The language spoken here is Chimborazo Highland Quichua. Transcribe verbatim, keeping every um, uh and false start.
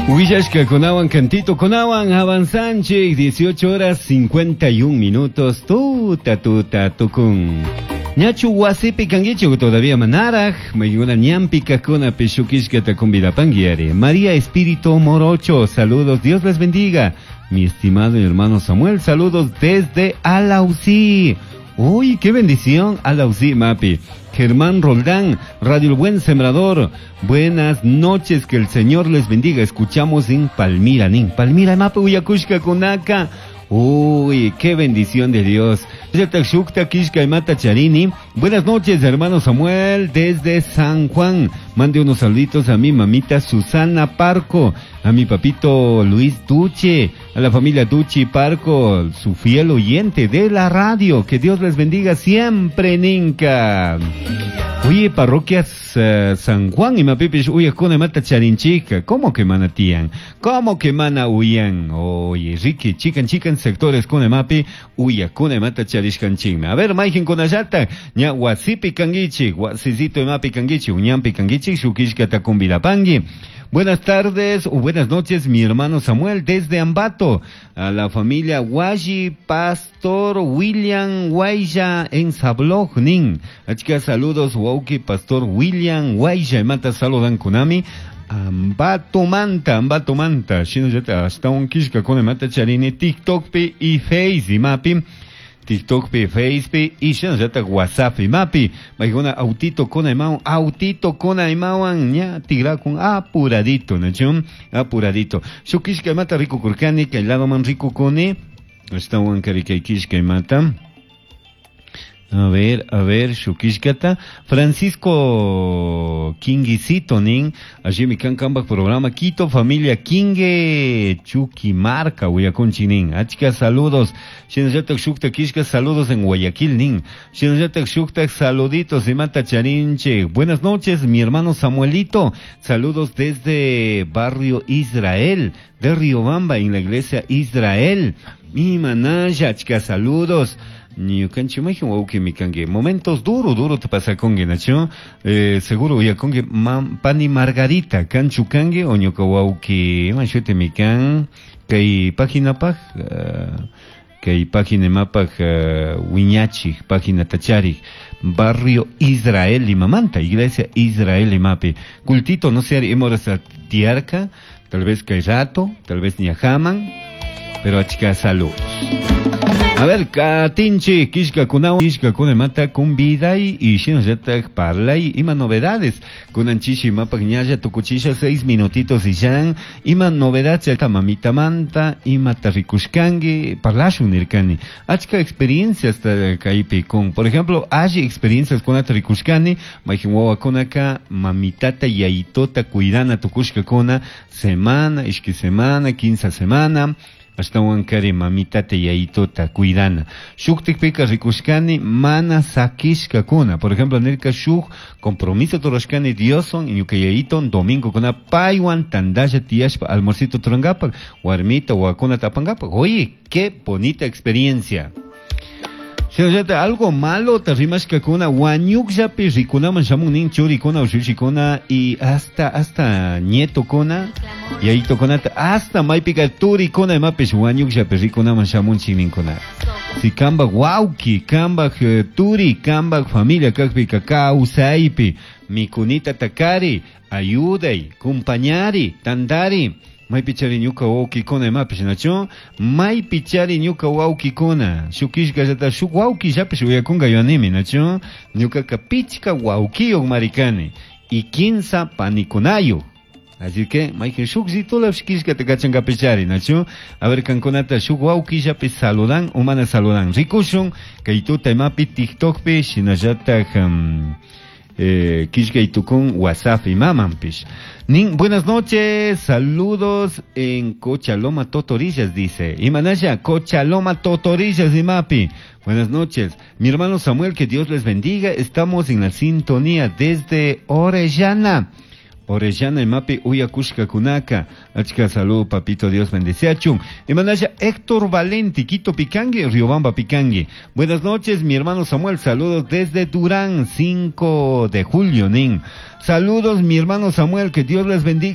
Huillashkakunawan cantitokunawan avanzanchik dieciocho horas cincuenta y un minutos, tuta tuta tukun. Ñachu wasipi kankichik todavía manaraj, maykuna ñanpi kajkunapi shukishkata convidapanguiari. María Espíritu Morocho, saludos, Dios les bendiga. Mi estimado hermano Samuel, saludos desde Alausí. Uy, qué bendición, Alausí, Mapi. Germán Roldán, Radio El Buen Sembrador. Buenas noches, que el Señor les bendiga. Escuchamos en Palmira, nin. Palmira, Mapi, uyakushkakunaka. Uy, qué bendición de Dios. Charini. Buenas noches, hermano Samuel, desde San Juan. Mande unos saluditos a mi mamita Susana Parco, a mi papito Luis Duche, a la familia Duchi Parco, su fiel oyente de la radio. Que Dios les bendiga siempre, ninka. Oye, parroquias uh, San Juan y mapipish uyakuna mata charinchika. ¿Cómo que mana tiyan? ¿Cómo que mana uyan? Oye, Ricky, chikan chikan sectores kuna mapi uyakuna mata charishkanchikmi. A ver, mayqinkunallata, ña wasipi kanguichik, wasisito mapi kanguichik, ñanpi kanguichik, shukishkata convidapangi. Buenas tardes o buenas noches, mi hermano Samuel, desde Ambato, a la familia Waji, Pastor William Guaya en Sablog, nin. Achka saludos, wawqi, Pastor William Guaya, mata saludan kunami. Ambato manta, Ambato manta, shinallata ashtawan kishka mata charini TikTok pi y Face imapi. TikTok pi, Face pi, y shinallata WhatsApp imapi. Maykuna autito kuna imawan, autito kuna imawan, ña tigrakun apuradito, ¿no? Apuradito. Shuk kishka mata rikukurkani, kay ladoman rikukuni, ashtawan kari kishka mata. A ver, a ver, shukishkata. Francisco Kinguisito, nin. Allí kan kambaj programa. Quito, familia Kingue, Chuquimarca, uyakunchik nin. Achka saludos. Shinallatak shukta kishka, saludos en Guayaquil, nin. Shinallatak shukta, saluditos, imata charinche. Buenas noches, mi hermano Samuelito. Saludos desde Barrio Israel, de Riobamba, en la iglesia Israel. Mi manaya, achka saludos. Ñukanchik mayqin wawqimi kanki momentos duro duro te pasakunki nachu eh, seguro uyakunki pani Margarita kanchu kanki o ñuka wawqi ima shutimi kan kay paginapaj uh, kay página imapaj uh, wiñachik página tacharik Barrio Israel imamanta Iglesia Israel imapi cultito no sé ima horas tiyarka, tal vez kay rato, tal vez ñajaman, pero achka saludos. A ver, katinchik, kishka kuna, kishka kuna mata conviday y shinallatak parlay, ima novedades. Kunan chishi imapak ñalla tukuchisha seis minutitos y ya, ima novedad mamita manta, ima rikushkangi, parlashun nirkani. Achka experiencias kaypi con, por ejemplo, hay experiencias con rikushkani, mayqin wawakunaka mamitata yayitota cuidana tukushkakuna, semana, ishki semana, quince semana, ashtawan kari mamitata yayitota cuidana. Shuktikpika rikushkani mana sakishkakuna. Por ejemplo, nirka shuk compromiso rurashkani Dioswan ñuka yayiton domingo kuna paywan tandalla tiyashpa almuercito rurangapak, warmita wawakunata apangapak. Oye, qué bonita experiencia. Shinallata algo malo rimashkakuna wañukllapi rikunaman shamun nin churikuna ushushikuna y hasta hasta nietokuna yayitokunata hasta maypika turikuna imapish wañukllapi rikunaman shamunchik ninkuna. Si kambak wawki, kambak eh, turi, kambak familia kakpika kawsaypi mikunita takari, ayuday, compañari, tandari. Maypichari ñuka wawkikuna imapish nachu maypichari ñuka wawkikuna shuk kishkallata shuk wawkillapish uyakunka yuyanimi nachu ñukaka pichka wawkiyuq marikani y quinsa panikunayuq. Así que, mayqin shuk zitulapish kishkata kachankapichari, nachu? A ver, kankunata shuk wawkillapi saludan o mana saludan. Rikushun, kay tuta imapi TikTokpi, shinallatak um, eh, kishkay tukun WhatsApp imamanpish. Nin, buenas noches, saludos en Cochaloma Totorillas, dice. Imanaya, Cochaloma Totorillas, imapi. Buenas noches. Mi hermano Samuel, que Dios les bendiga. Estamos en la sintonía desde Orellana. Orellana imapi uyakushkakunaka. Achka salud, papito, Dios bendeciachun. Imanaya Héctor Valenti, Quito pikangi, Riobamba pikangi. Buenas noches, mi hermano Samuel, saludos desde Durán, cinco de julio, nin. Saludos, mi hermano Samuel, que Dios les bendiga.